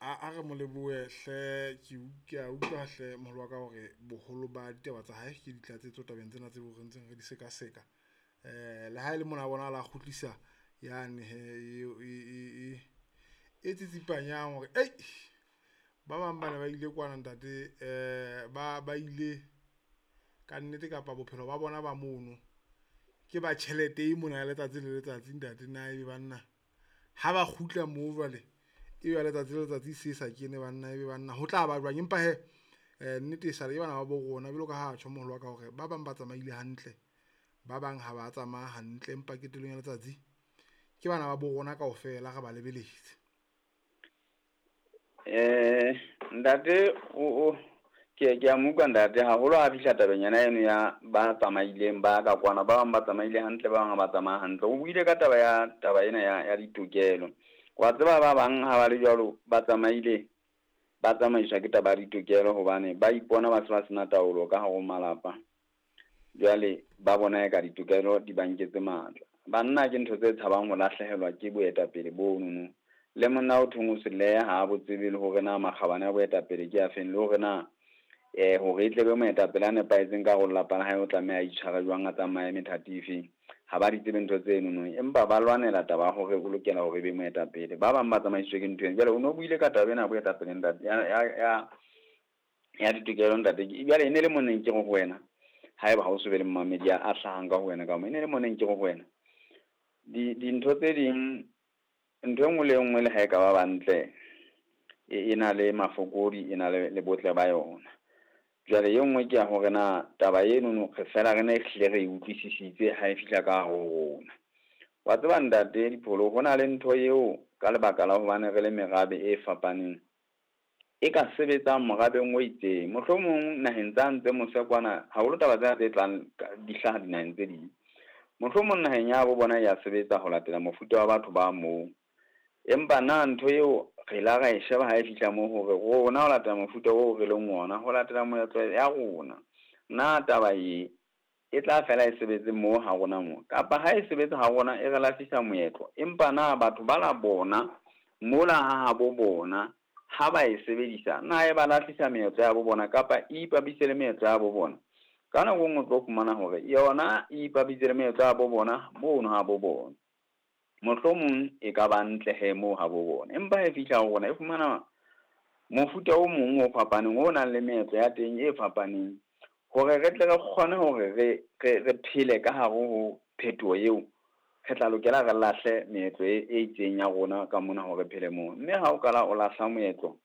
A re mo lebohe hle ke a utlwa hle moholo wa ka hore boholo ba ditaba tsa hae ke ditlatsetso tabeng tsena tseo re ntseng re di sekaseka. Le ha e le mona a bonahala a kgutlisa yane hee eo e tsitsipanyang hore ba bang ba ne ba ile kwana ntate ba ile ka nnete kapa bophelo ba bona ba mono ke ba tjhelete e mona ya letsatsi le letsatsi ntate na ebe banna ha ba kgutla moo jwale e ba letsatsi le letsatsi se sa kene banna ebe banna ho tlaba jwang. Empa hee nnete e sale ke bana ba bo rona jwalo ka ha tjho moholo wa ka hore ba bang ba tsamaile hantle, ba bang ha ba tsamaya hantle, empa qetellong ya letsatsi ke bana ba bo rona kaofela re ba lebeletse. Ntate o ke a mo utlwa ntate haholo ha fihla tabeng yena eno ya ba tsamaileng ba ka kwana, ba bang ba tsamaile hantle, ba bang ha ba tsamaya hantle. O buile ka taba ya taba ena ya ditokelo. Wa tseba ba bang ha ba le jwalo ba tsamaile ba tsamaiswa ke taba ya ditokelo hobane ba ipona ba se ba sena taolo ka hare ho malapa. Jwale ba bona eka ditokelo di ba nketse matla. Banna ke ntho tse tshabang ho lahlehelwa ke boetapele bonono. Le monna o thong o seleha ha bo tsebe le hore na makgabane a boetapele ke afeng, le hore na hore e tle be moetapele a nepahetseng ka hare ho lelapa la hae o tlameha a itshware jwang, a tsamaye methati efeng. Ha ba di tsebe ntho tseno no, empa ba lwanela taba ya hore o lokela hore e be moetapele. Ba bang ba tsamaisitswe ke ntho eno. Jwale o no buile ka taba ena ya boetapele ntate, ya ditokelo ntate. Jwale e ne le moneng ke re ho wena, haeba ha o so be le momamedi a hlahang ka ho wena ka mo, e ne le moneng ke re ho wena dintho tse ding, ntho e nngwe le e nngwe le ha e ka ba bantle, e na le mafokodi, e na le botle ba yona. Jwale e nngwe ke ya hore na taba eno no re fela re ne hlile re e utlwisisitse ha e fihla ka hare ho rona. Wa tseba ntate Dipholo, ho na le ntho eo ka lebaka la hobane re le merabe e fapaneng e ka sebetsang morabeng o itseng. Mohlomong naheng tsa ntse mose kwana, haholo taba tsena tse tlang di hlaha dinaheng tse ding. Mohlomong naheng ya bo bona ya sebetsa ho latela mofuta wa batho ba moo. Empa na ntho eo re la ra e sheba ha e fihla moo hore rona ho latela mofuta oo re leng ona, ho latela moetlo ya rona, na taba e tla fela e sebetse moo ha rona moo, kapa ha e sebetse ha rona e re lahlisa moetlo, empa na batho ba la bona mola ha habo bona ha ba e sebedisa, na e ba lahlisa meetlo ya bo bona kapa e ipapise le meetlo ya bo bona? Ka nako e nngwe o tlo fumana hore yona e ipapise le meetlo ya bo bona mono ha bo bona. Mohlomong e ka ba ntle he moo ha bo bona, empa e fihla ho rona e fumana mofuta o mong o fapaneng o nang le meetlo ya teng e fapaneng, hore re tle re kgone hore re phele ka hare ho phetoho eo, re tla lokela re lahle meetlo e itseng ya rona ka mona hore phele moo. Mme ha o qala o lahla moetlo,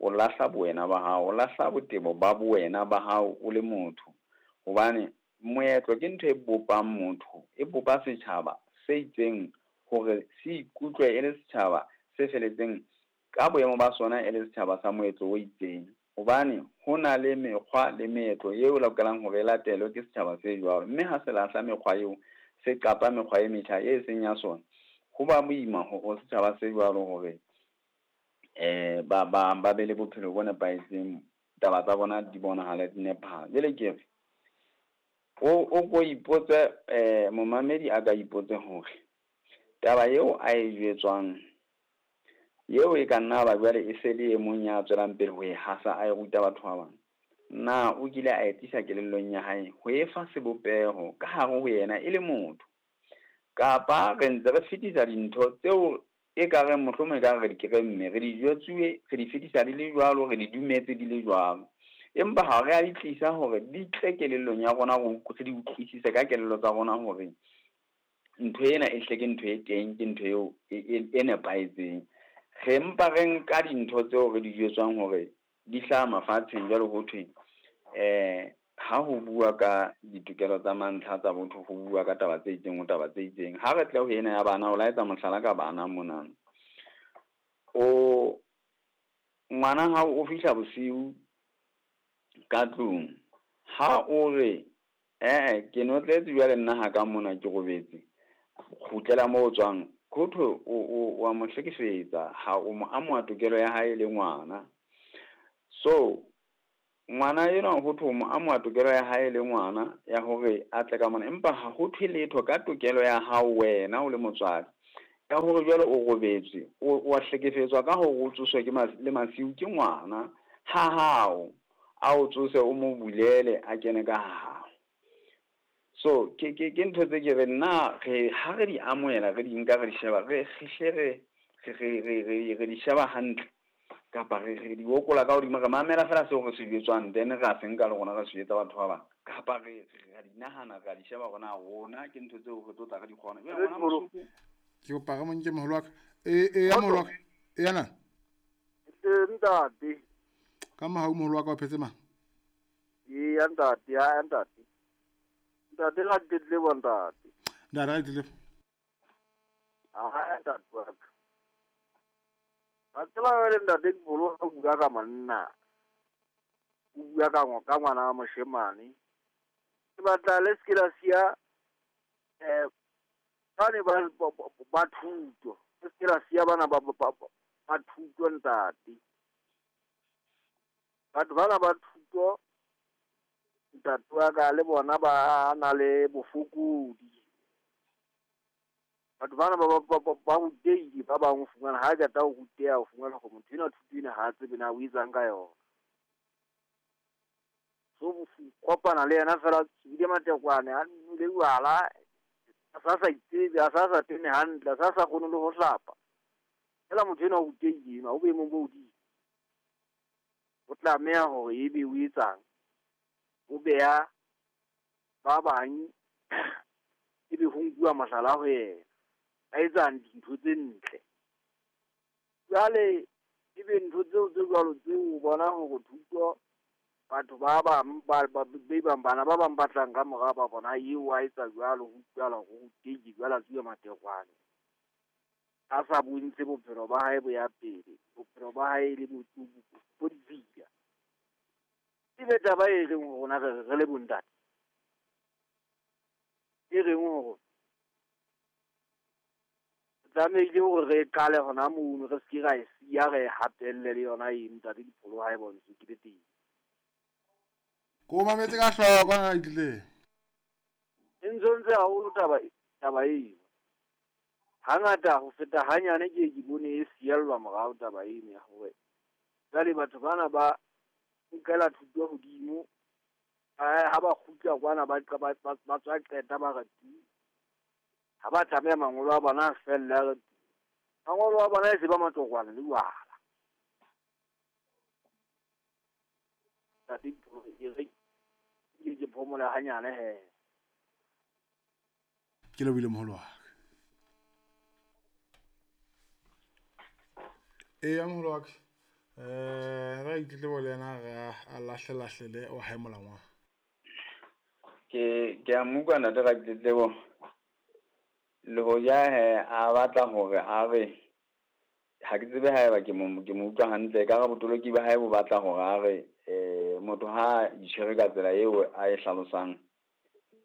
o lahla bowena ba hao, o lahla botebo ba bowena ba hao o le motho, hobane moetlo ke ntho e bopang motho, e bopa setjhaba se itseng hore se ikutlwe e le setjhaba se feletseng ka boemo ba sona e le setjhaba sa moetlo o itseng, hobane ho na le mekgwa le meetlo eo lokelang hore e latelwe ke setjhaba se jwalo. Mme ha se lahla mekgwa eo, se qapa mekgwa e metjha e seng ya sona, ho ba boima ho setjhaba se jwalo hore ba be le bophelo bo nepahetseng, taba tsa bona di bonahale di nepahala. Jwale ke re o ko ipotse, momamedi a ka ipotse hore taba eo a e jwetswang eo e ka nna ba jwale e se le e mong ya tswelang pele ho e hasa a e ruta batho ba bang, na o kile a e tlisa kelellong ya hae ho e fa sebopeho ka hare ho yena e le motho, kapa re ntse re fetisa dintho tseo e ka reng mohlomong e ka re di keremme, re di jwetsuwe, re di fetisa di le jwalo, re di dumetse di le jwalo, empa ha re a di tlisa hore di tle kelellong ya rona, re di utlwisise ka kelello tsa rona hore ntho ena e hle ke ntho e teng, ke ntho eo e nepahetseng. Re mpa re nka dintho tseo re di jwetswang hore di hlaha mafatsheng jwalo ho thwe ha ho bua ka ditokelo tsa mantlha tsa botho, ho bua ka taba tse itseng, ho taba tse itseng. Ha re tle ho ena ya bana, o laetsa mohlala ka bana mona. O ngwana hao o fihla bosiu ka tlung, ha o re ke notletse jwale nna ha ka mona ke robetse, kgutlela moo o tswang, ho thwe o wa mo hlekefetsa, ha o mo amoha tokelo ya hae le ngwana. So ngwana enwa ho thwe o mo amoha tokelo ya hae le ngwana ya hore a tle ka mona, empa ha ho thwe letho ka tokelo ya hao wena o le motswadi. Ya hore jwale o robetse, o a hlekefetswa ka hore o tsoswe ke le masiu ke ngwana ha hao, a o tsose o mo bulele a kene ka hao. So ke ntho tse ke re nna re ha re di amohela, re di nka re di sheba, re hle re di sheba hantle kapa re di okola ka hodimo, re mamela fela seo re se jwetswang, then re a se nka le rona re se jwetsa batho ba bang, kapa re a di nahana, re a di sheba hore na rona ke ntho tseo re tlo tla re di kgona. Jwale ngwana Mosotho ke kopa re mo nke moholo wa ka. E ya moholo wa ka. E ya na? Ntate. Ka mohau moholo wa ka o phetse mang? Eya ntate, ya ntate. Ntate ga ditletlebo ntate. Ntate ga ditletlebo. Ah, ntate wa ka. Ba tseba jwale ntate Dipholo o bua ka monna. O bua ka ngwana wa moshemane. Ke batla le se ke la siya bane ba thuto. Le se ke la siya bana ba thuto ntate. Batho bana ba thuto ntate wa ka le bona ba na le bofokodi. Batho bana ba rutehile, ba bang o fumana ha qeta ho ruteha, o fumana hore motho enwa thuto ena ha a tsebe na o etsang ka yona. So kopana le yena fela tswile matekwane, a nwele jwala, a sa itsebe, a sa tene hantle, a sa kgone le ho hlapa. Fela motho enwa o rutehile enwa, o boemong bo hodimo. O tlameha hore ebe o etsang? O beha ba bang ebe ho nkuwa mohlala ho yena. A etsang dintho tse ntle. Jwale ebe ntho tseo tse jwalo tseo o bona hore thuto batho ba bang ba bang bana ba bang ba tlang ka mora ba bona eo a etsa jwalo, ho utlwahala hore o rutehile jwale a tsuwa matekwane. A sa bontshe bophelo ba hae bo ya pele, bophelo ba hae le bo ditshila. Ebe taba e reng ho rona re le bontate, e reng ho rona tlamehile hore re qale hona mono, re se ke ra e siya, re hatelle le yona eno ntate Dipholo ha e bontshe ke le teng. Ko mametse ka hloko ha itlile. E ntshwentse haholo taba eno. Hangata ho feta hanyane ke bone e siellwa morao taba eno ya hore jwale batho bana ba nkela thuto hodimo, ha ba kgutla kwana ba tswa qeta ba re tu. Ha ba tlameha mangolo a bona a felle, a re tu. Mangolo a bona e se ba matokwane le jwala. Ntate Dipholo, e re ke phomole hanyane he. Ke lebohile moholo wa ka. Eya moholo wa ka. Ra itletlebo le yena re a lahlelahlele o hae molangwana. Ke a mo utlwa ntate Ratletlebo. Le hoja he a batla hore a re ha ke tsebe haeba ke mo utlwa hantle, ekare botoloki ba hae bo batla hore a re motho ha itshwere ka tsela eo a e hlalosang,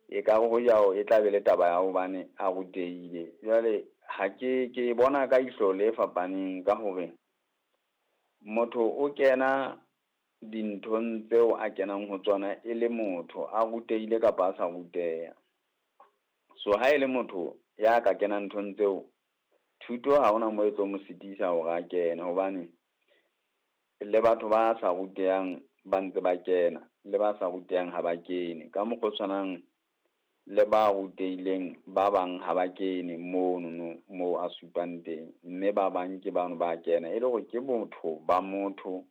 ekare hoja e tla be le taba ya hobane a rutehile. Jwale ha ke bona ka ihlo le fapaneng ka hore motho o kena dinthong tseo a kenang ho tsona e le motho a rutehile kapa a sa ruteha. So ha e le motho ya ka kenang nthong tseo, thuto ha hona moo e tlo mo sitisa hore a kene, hobane le batho ba sa rutehang ba ntse ba kena, le ba sa rutehang ha ba kene. Ka mokgwa o tshwanang le ba rutehileng ba bang ha ba kene mono moo a supang teng, mme ba bang ke bano ba kena. E le hore ke botho ba motho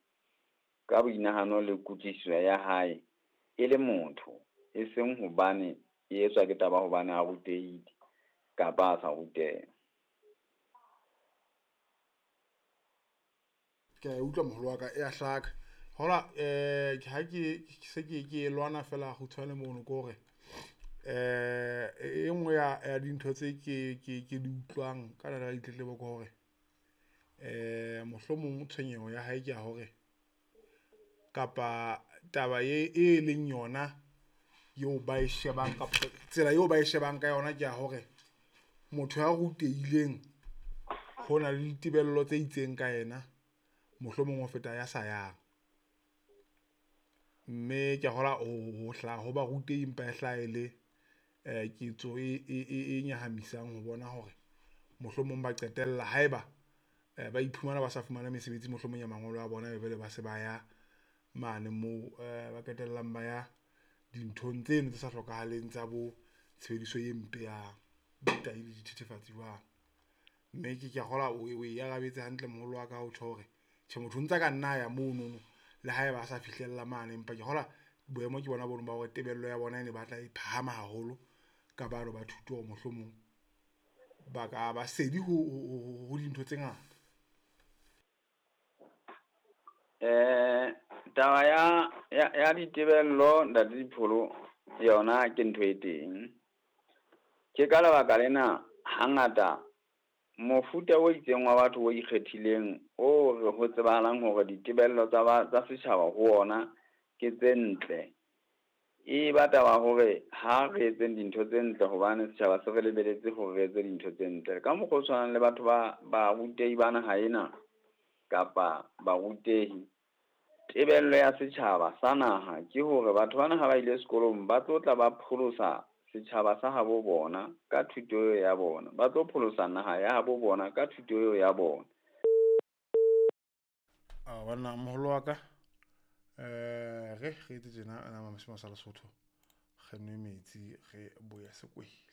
ka boinahano le kutlwisiso ya hae e le motho, e seng hobane e etswa ke taba hobane a rutehile kapa a sa ruteha. Ke a utlwa moholo wa ka e a hlaka. Hola ha ke se ke lwana fela kgutshwane mono ke hore e nngwe ya dintho tse ke di utlwang ka nako ya ditletlebo ke hore mohlomong tshwenyeho ya hae ke ya hore kapa taba e leng yona eo ba e shebang kapa tsela eo ba e shebang ka yona ke ya hore motho ya rutehileng ho na le ditebello tse itseng ka yena, mohlomong ho feta ya sa yang. Mme ke a kgolwa ho hlaha ho barutehi empa e hlaha e le ketso e nyahamisang ho bona hore Mohlomong ba qetella haeba ba iphumana ba sa fumana mesebetsi mohlomong ya mangolo a bona, be ba se ba ya mane moo ba qetellang ba ya dinthong tseno tse sa hlokahaleng tsa bo tshebediso e mpe ya tahi le dithethefatsi jwalo. Mme ke a kgolwa o e arabetse hantle moholo wa ka ha o tjho hore tjhe motho o ntsa ka nna a ya monono le haeba a sa fihlella mane, empa ke kgolwa boemo ke bona bono ba hore tebello ya bona e ne batla e phahama haholo ka bano ba thuto hore mohlomong ba ka ba sedi ho dintho tse ngata. Taba ya ditebello ntate Dipholo yona ke ntho e teng. Ke ka lebaka lena hangata mofuta o itseng wa batho o ikgethileng o re ho tsebahalang hore ditebello tsa setjhaba ho ona ke tse ntle. E ba taba hore ha re etseng dintho tse ntle hobane setjhaba se re lebeletse hore re etse dintho tse ntle. Ka mokgwa o tshwanang le batho ba barutehi ba naha ena kapa barutehi, tebello ya setjhaba sa naha ke hore batho bana ha ba ile sekolong ba tlo tla ba pholosa setjhaba sa habo bona ka thuto ya bona, ba tlo pholosa naha ya habo bona ka thuto eo ya bona. A banna moholo wa ka, re etse tjena nama mosima sa Lesotho, re nwe metsi re boye sekwele.